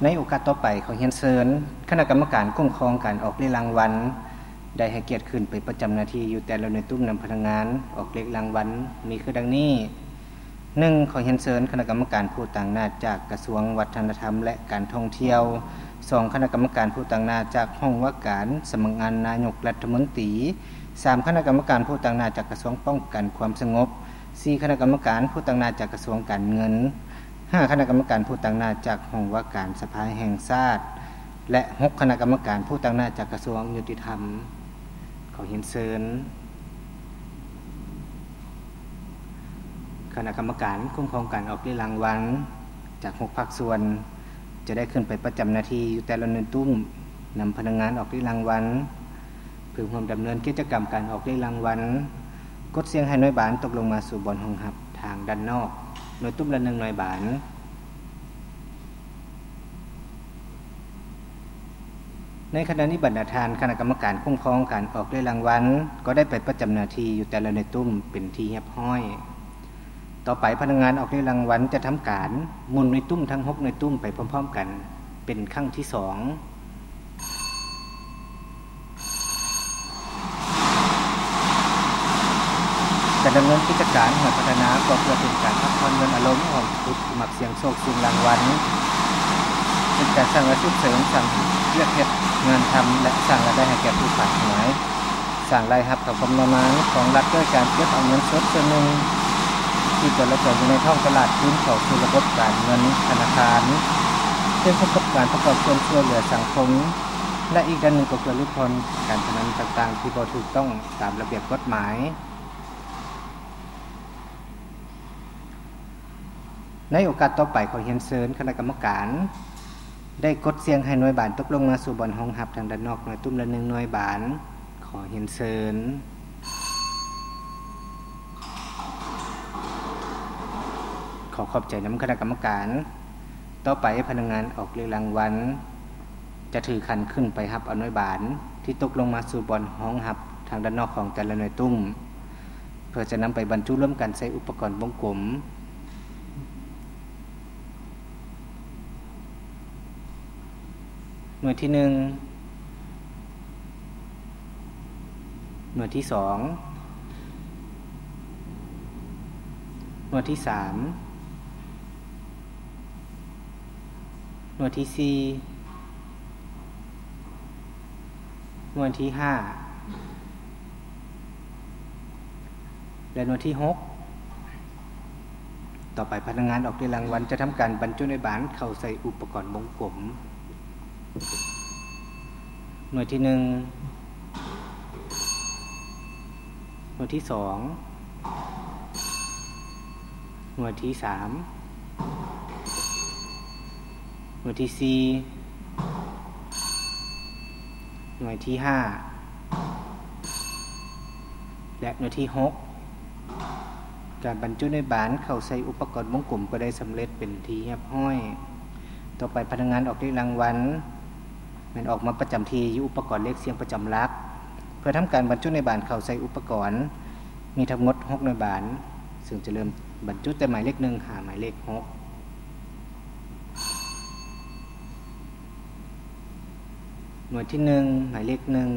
ໃນໂອກາດຕໍ່ໄປ ຂໍຮຽນເຊີນຄະນະກຳມະການຄຸ້ມຄອງການອອກເລກລາງວັນ ໄດ້ໃຫ້ກຽດຂຶ້ນໄປປະຈຳໜ້າທີ່ຢູ່ແຕ່ລະໜ່ວຍຕຸ້ມນຳພະນັກງານອອກເລກລາງວັນ ມີຄືດັ່ງນີ້: ໜຶ່ງ ຂໍຮຽນເຊີນຄະນະກຳມະການຜູ້ຕາງໜ້າຈາກກະຊວງວັດທະນະທຳ ແລະ ການທ່ອງທ່ຽວ, ສອງ ຄະນະກຳມະການຜູ້ຕາງໜ້າຈາກຫ້ອງວ່າການສຳນັກງານນາຍົກລັດຖະມົນຕີ, ສາມ ຄະນະກຳມະການຜູ້ຕາງໜ້າຈາກກະຊວງປ້ອງກັນຄວາມສະຫງົບ, ສີ່ ຄະນະກຳມະການຜູ້ຕາງໜ້າຈາກກະຊວງການເງິນ, ຫ້າ ຄະນະກຳມະການຜູ້ຕາງໜ້າຈາກຫ້ອງວ່າການສະພາແຫ່ງຊາດ ແລະ ຫົກ ຄະນະກຳມະການຜູ້ຕາງໜ້າຈາກກະຊວງຍຸຕິທຳ. ຂໍຮຽນເຊີນຄະນະກຳມະການຄຸ້ມຄອງການອອກເລກລາງວັນຈາກຫົກພາກສ່ວນ ຈະໄດ້ຂຶ້ນໄປປະຈຳໜ້າທີ່ຢູ່ແຕ່ລະໜ່ວຍຕຸ້ມນຳພະນັກງານອອກເລກລາງວັນ ເພື່ອຮ່ວມດຳເນີນກິດຈະກຳການອອກເລກລາງວັນ. ກົດສ່ຽງໃຫ້ໜ່ວຍບານຕົກລົງມາສູ່ບ່ອນຮອງຮັບທາງດ້ານນອກ, ໜ່ວຍຕຸ້ມລະໜຶ່ງໜ່ວຍບານ. ໃນຂະນະນີ້ ບັນດາທ່ານຄະນະກຳມະການຄຸ້ມຄອງການອອກເລກລາງວັນ ກໍໄດ້ໄປປະຈຳໜ້າທີ່ຢູ່ແຕ່ລະໜ່ວຍຕຸ້ມເປັນທີ່ຮຽບຮ້ອຍ. ຕໍ່ໄປພະນັກງານອອກເລກລາງວັນຈະທຳການໝູນໜ່ວຍຕຸ້ມທັງຫົກໜ່ວຍຕຸ້ມໄປພ້ອມໆກັນເປັນຄັ້ງທີສອງ. ການດຳເນີນກິດຈະການຫອຍພັດທະນາ ກໍເພື່ອເປັນການພັກຜ່ອນຢ່ອນອາລົມຂອງຜູ້ທີ່ມັກສ່ຽງໂຊກສ່ຽງລາງວັນ, ເປັນການສ້າງອາຊີບເສີມ, ສ້າງວຽກເຮັດງານທຳ ແລະ ສ້າງລາຍໄດ້ໃຫ້ແກ່ຜູ້ຂາຍຫວຍ. ສ້າງລາຍຮັບເຂົ້າຄຳນຳມານຂອງລັດດ້ວຍການເກັບເອົາເງິນສົດສ່ວນໜຶ່ງທີ່ຈະຫຼອຍຕົວຢູ່ໃນທ້ອງຕະຫຼາດຄືນເຂົ້າສູ່ລະບົບການເງິນທະນາຄານ, ເຊິ່ງພົບກັບການປະກອບສ່ວນຊ່ວຍເຫຼືອສັງຄົມ ແລະ ອີກດ້ານໜຶ່ງກໍເພື່ອຫຼຸດຜ່ອນການພະນັນຕ່າງໆທີ່ບໍ່ຖືກຕ້ອງຕາມລະບຽບກົດໝາຍ. ໃນໂອກາດຕໍ່ໄປ ຂໍຮຽນເຊີນຄະນະກຳມະການໄດ້ກົດສ່ຽງໃຫ້ໜ່ວຍບານຕົກລົງມາສູ່ບ່ອນຮອງຮັບທາງດ້ານນອກ ໜ່ວຍຕຸ້ມລະໜຶ່ງໜ່ວຍບານ. ຂໍຮຽນເຊີນ. ຂໍຂອບໃຈນຳຄະນະກຳມະການ. ຕໍ່ໄປພະນັກງານອອກເລກລາງວັນຈະຖືຂັນຂຶ້ນໄປຮັບເອົາໜ່ວຍບານທີ່ຕົກລົງມາສູ່ບ່ອນຮອງຮັບທາງດ້ານນອກຂອງແຕ່ລະໜ່ວຍຕຸ້ມ ເພື່ອຈະນຳໄປບັນຈຸລວມກັນໃສ່ອຸປະກອນວົງກົມ. ໜ່ວຍທີໜຶ່ງ, ໜ່ວຍທີສອງ, ໜ່ວຍທີສາມ, ໜ່ວຍທີສີ່, ໜ່ວຍທີຫ້າ ແລະ ໜ່ວຍທີຫົກ. ຕໍ່ໄປພະນັກງານອອກເລກລາງວັນຈະທຳການບັນຈຸໜ່ວຍບານເຂົ້າໃສ່ອຸປະກອນວົງກົມ. ໜ່ວຍທີໜຶ່ງ, ໜ່ວຍທີສອງ, ໜ່ວຍທີສາມ, ໜ່ວຍທີສີ່, ໜ່ວຍທີຫ້າ ແລະ ໜ່ວຍທີຫົກ. ການບັນຈຸໜ່ວຍບານເຂົ້າໃສ່ອຸປະກອນວົງກົມກໍໄດ້ສຳເລັດເປັນທີ່ຮຽບຮ້ອຍ. ຕໍ່ໄປພະນັກງານອອກເລກລາງວັນແມ່ນອອກມາປະຈຳທີ່ຢູ່ອຸປະກອນເລກສ່ຽງປະຈຳຫຼັກ ເພື່ອທຳການບັນຈຸໜ່ວຍບານເຂົ້າໃສ່ອຸປະກອນ. ມີທັງໝົດຫົກໜ່ວຍບານ, ເຊິ່ງຈະເລີ່ມບັນຈຸແຕ່ໝາຍເລກໜຶ່ງຫາໝາຍເລກຫົກ. ໜ່ວຍທີໜຶ່ງ ໝາຍເລກໜຶ່ງ,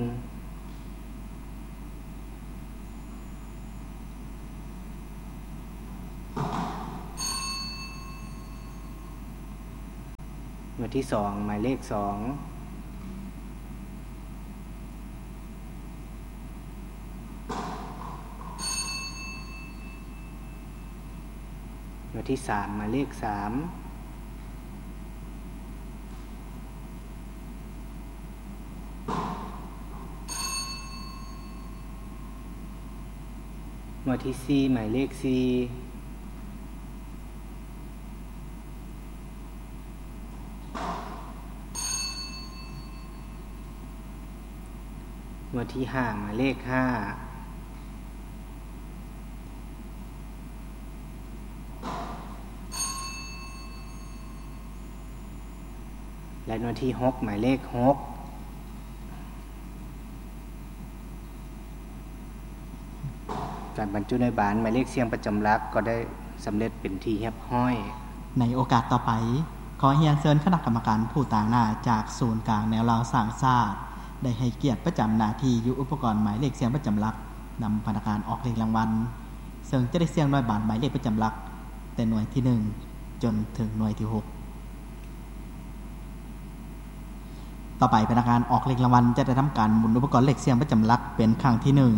ໜ່ວຍທີສອງ ໝາຍເລກສອງ, ໜ່ວຍທີສາມ ໝາຍເລກສາມ, ໜ່ວຍທີສີ່ ໝາຍເລກສີ່, ໜ່ວຍທີຫ້າ ໝາຍເລກຫ້າ ແລະ ໜ່ວຍທີຫົກ ໝາຍເລກຫົກ. ການບັນຈຸໜ່ວຍບານໝາຍເລກສ່ຽງປະຈຳຫຼັກກໍໄດ້ສຳເລັດເປັນທີ່ຮຽບຮ້ອຍ. ໃນໂອກາດຕໍ່ໄປ, ຂໍຮຽນເຊີນຄະນະກຳມະການຜູ້ຕາງໜ້າຈາກສູນກາງແນວລາວສ້າງຊາດ ໄດ້ໃຫ້ກຽດປະຈຳໜ້າທີ່ຢູ່ອຸປະກອນໝາຍເລກສ່ຽງປະຈຳຫຼັກ ນຳພະນັກງານອອກເລກລາງວັນ ເຊິ່ງຈະໄດ້ສ່ຽງໜ່ວຍບານໝາຍເລກປະຈຳຫຼັກ ແຕ່ໜ່ວຍທີໜຶ່ງຈົນເຖິງໜ່ວຍທີຫົກ. ຕໍ່ໄປພະນັກງານອອກເລກລາງວັນຈະໄດ້ທຳການໝູນອຸປະກອນເລກສ່ຽງປະຈຳຫຼັກເປັນຄັ້ງທີໜຶ່ງ